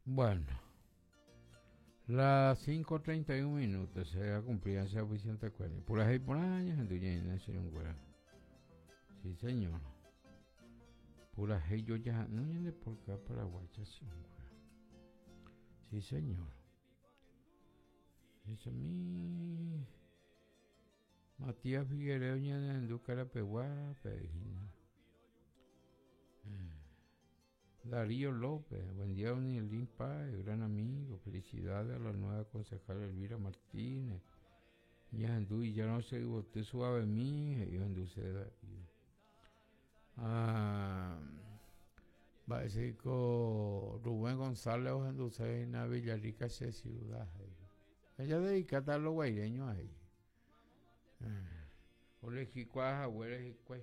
Bueno, las 5.31 minutos se ha cumplido ese oficiante cuerno. Pura y por años en tu señor. Sí, señor. Pura yo ya no de por acá Paraguay, Sí, señor. Dice mi Matías Figueredo ñanendu Carapeguá, Pejina. Darío López, buen día, don Elín Páez, gran amigo. Felicidades a la nueva concejal Elvira Martínez. Ñahendu y ya no se usted suave mi, y Darío. Ah, va Rubén González ohenduse Villarrica che ciudad. Ella dedicata a los guaireños ahí. Olejikuaa haguére hikuái.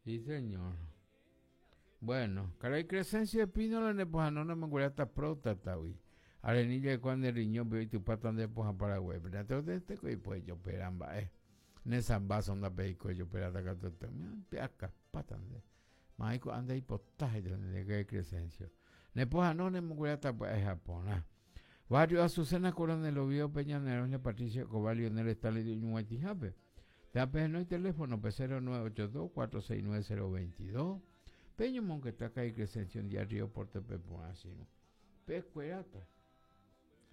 Sí, señor. Bueno, karai Crescencio Espínola nepohãno nemongueráta próstata-gui. Arenilla oikuaa nde riñón-pe oitypáta nde pohã Paraguáipe. Natekotevẽteko ipojopera mba'e. Ne sambaso ndapeikói ojoperáta katuete. Pe'akapáta nde. Ma'ẽ ko'ã ndaipota he'i nde karai Crescencio. Nepohãno nemongueráta pya'e ha porã. Barrio Azucena Coronel Oviedo-pe ñane roña Patricio Escobar Lionel Stanley oñug̃uaitĩhápe. Térã pehenói teléfono-pe 0982 469 022. Pe ñomongeta karai Crescencio Díaz Río Porte-pe porã che irũ. Pekueráta.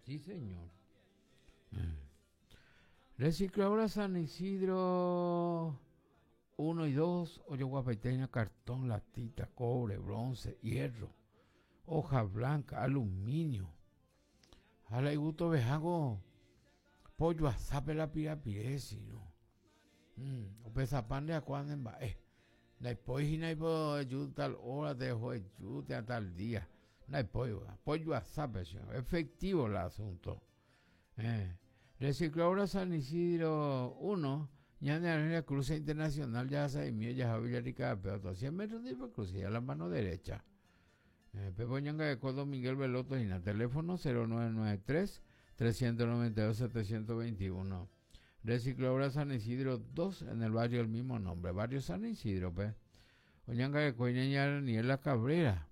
Sí, señor. Recicladora San Isidro 1 y 2 ojoguapaite hína cartón, latita, cobre, bronce, hierro, hoja blanca, aluminio. Ha la igustoveháko pollo asápe la pirapire sino. Opesapa nde akua ne mba'e. Ndaipói hína ipo eju tal hora te oho eju térã tal día. Ndaipói pollo asápe sino. Efectivo la asunto. Recicladora San Isidro 1, ñane arhéra Cruce Internacional jahasa'imi ojaha Villarrica pe otro 100 metros ndive cruce a la mano derecha. Pepe oñangareko Don Miguel Veloto hína, teléfono 0993 392 721. Recicladora San Isidro 2 en el barrio del mismo nombre, barrio San Isidro, pe. Oñangareko hína ña Daniela Cabrera.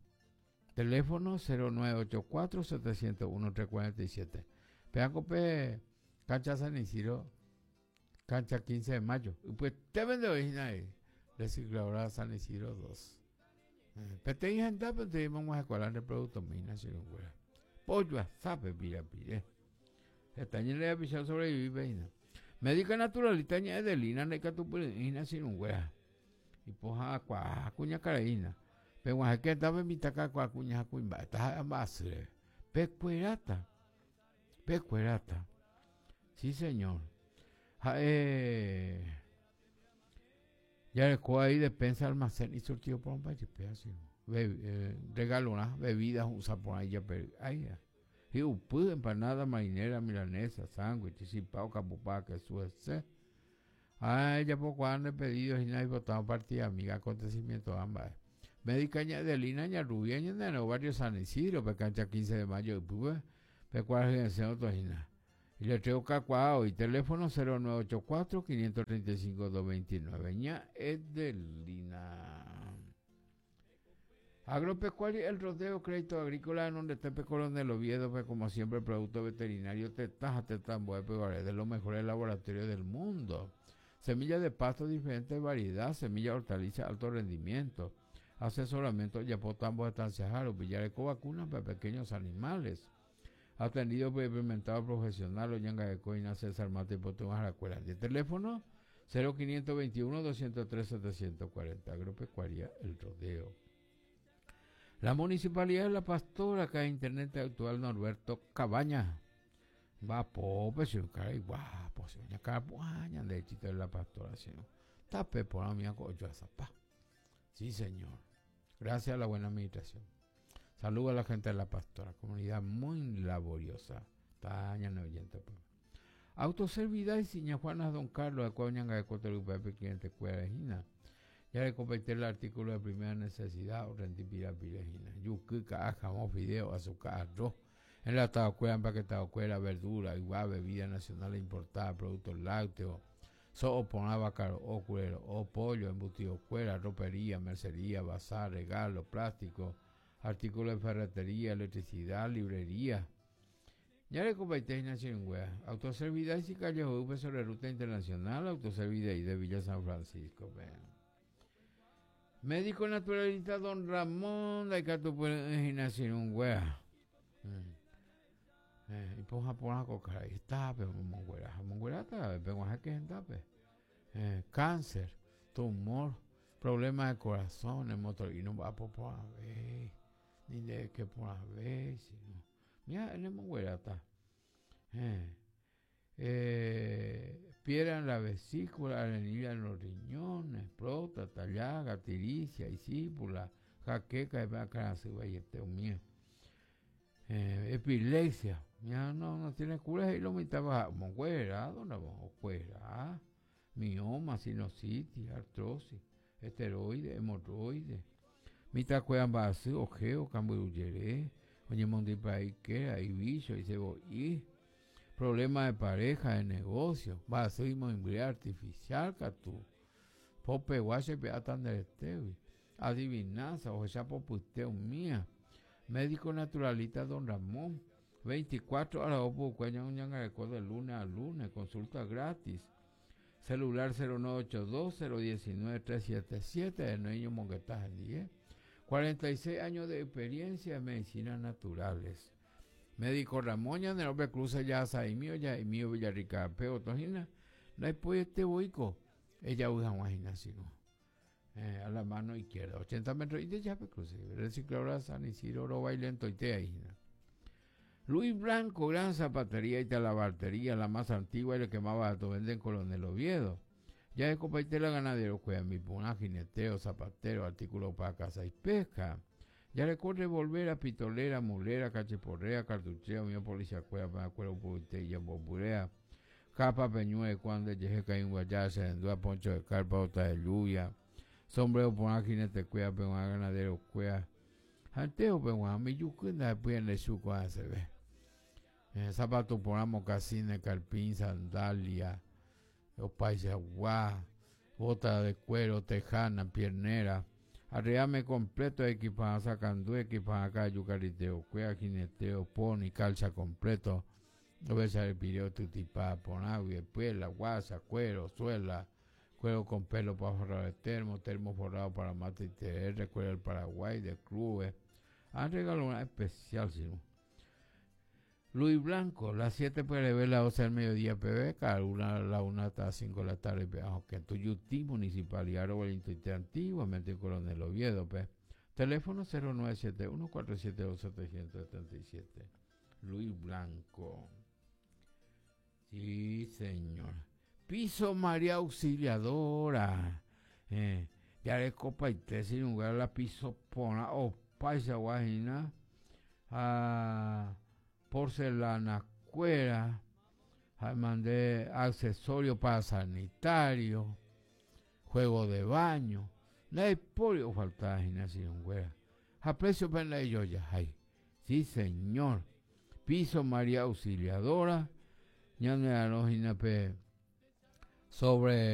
Teléfono 0984 701 347. Péako pe cancha San Isidro, cancha 15 de mayo. Ypyete vende oĩ hína ahí, recicladora San Isidro 2. Peteĩ hendápe nde mog̃uahẽkuaa nde producto mina che irũnguéra. Pollo asápe pirapire. Heta ñande rapicha sobrevivi hína. Médica naturalista ña Edelina ndaikatupyry'ỹi hína che irũnguéra. Ipohãkuaa kuñakarai hína. Peg̃uahẽke hendápe mitã kakuaa kuña ha kuimba'e, taha'e mba'asy reve. Pekueráta. Pekueráta. Sí, señor. Ha'e jareko ahí despensa, almacén y surtido porãmba jepe así. Be, regalorã, bebida hu'ũsa porã ijapery'áiva. Hi'upy, empanada, marinera, milanesa, sándwich, chipa, okapupa, kesu hese. Ha ejapokuaa nde pedido hína oipotárõ partida amiga acontecimiento-rã mba'e. Médica ña Edelina ña Rubia ñane barrio San Isidro pe cancha 15 de mayo ypýpe pe kuarahy resẽ oto hína. Iletrero kakuaa oĩ teléfono 0984 535 229 ña Edelina. Agropecuario El Rodeo, Crédito Agrícola Renondete Coronel Oviedo-pe, como siempre, producto veterinario tetã ha tetã ambuépe guare, de los mejores laboratorios del mundo. Semilla de pasto diferentes variedad, semilla hortaliza alto rendimiento. Asesoramiento ojapo tambo estanciaha rupi, jareko vacuna para pequeños animales. Atendido por experimentado profesional oñangareko hína César Mata ipotyvãharakuéra ndive. Teléfono 0521 203 740. Agropecuaria El Rodeo. La Municipalidad de La Pastora, acá Internet actual Norberto Cabaña. Mba'apópe che karai guapo che ñakarapu'ã ñande chito de La Pastora che tape porã umi ako ojoasapa. Sí, señor. Gracias a la buena administración. Saludos a la gente de La Pastora, comunidad muy laboriosa. Está ñane oyente pues. Autoservidad y ña Juana Don Carlos, akua oñangareko torypápe cliente kuéra hína. Jarekopaite el artículo de primera necesidad orrendi pirapire hína. Juky, ka'a, jamón, fideo, azuka, arroz, enlatado kuéra, empaquetado kuéra, verdura, ygua, bebida nacional importada, productos lácteos, so'o porã, vaka ro'o, kure ro'o, pollo, embutido kuéra, ropería, mercería, bazar, regalo, plástico. Artículo de ferretería, electricidad, librería. Ñarekopaite hína che irũnguéra. Autoservidad Isicalle ho'ýpe sobre ruta internacional, Autoservidad de Villa San Francisco-pe. Médico naturalista Don Ramón ndaikatupyry'ỹ hína che irũnguéra. Eh, ipohã porã ko karai hetápe omonguera ha omongueráta ave peg̃uahẽke hendápe. Eh, cáncer, tumor, problema de corazón, nemotor'i nomba'apo porãve, ni ndeke porãve, sino mira ha'e nemongueráta. Eh, eh, piedra en la vesícula, arenilla en los riñones, próstata, llaga, tiricia, isípula, jaqueca, akãrasy vaiete umía. Eh, epilepsia, ya no, no tiene cura, he'i lo mitãva omonguera, okuera, mioma, sinusitis, artrosis, esteroide, hemorroide, mitãkuéra mba'asy, ojeo, kambyrujere, oñemondypa'ikéra, ivícho, isebo'i, problema de pareja, de negocio, mba'asy imoĩmbyre artificial katu, popegua chepe'áta nde retégui, adivinanza, ohecha popyte umía, médico naturalista Don Ramón, 24 horas opukue ñañangareko de lunes a lunes, consulta gratis. Celular 0982 019 377 de ñomongeta hendie. 46 años de experiencia en medicinas naturales. Médico Ramón ñane Cruz ya saimio ya imio Villarrica pe otohína ndaipoiete voiko ejavy hag̃ua hína sino a la mano izquierda 80 metros y de ya Cruz recicladora San Isidro rovái lentoite ahí hína. Luis Blanco, gran zapatería y talabartería, la más antigua y la que más barato vende en Coronel Oviedo. Ya es copaite la ganadero, cueva mi puna, jineteo, zapatero, artículo para caza y pesca. Ya recorre volver a pitolera, mulera, cachiporrea, cartucheo, mío policía cueva, para cuero puite y bomburea. Capa peñue, cuando llegue caí guayá, se endúa poncho de carpa, bota de lluvia. Sombrero por jinete cueva, pero ganadero cueva. Anteo pe mi yukunda después en el suco se ve. Zapato por mocasines, carpín, sandalia, opaisagua, bota de cuero, tejana, piernera. Arreame completo, equipaja sacandú, equipaja cayo, cariteo, cuea, jineteo, pony, calza completo. Oveja el pireo, tutipá, ponagua, la guasa, cuero, suela, cuero con pelo para forrar el termo, termo forrado para mate y TR, cuero del Paraguay, de clubes. Han regalado una especial, ¿sí? Luis Blanco, las 7 PLB, las 12 del mediodía PB, cada una la 1 hasta las 5 de la tarde, aunque en Tuyutí, Municipalidad Robalito antiguamente Coronel Oviedo, P. Teléfono 0971 472 777. Luis Blanco. Sí, señor. Piso María Auxiliadora. Ya le copa y te sin lugar la piso pona o paisa guajina. Ah, porcelana cuera. Mandé accesorio para sanitario, juego de baño. No hay pollo faltaba sin güera. A precio para ellos ya hay. Sí, señor. Piso María Auxiliadora. Ñane sobre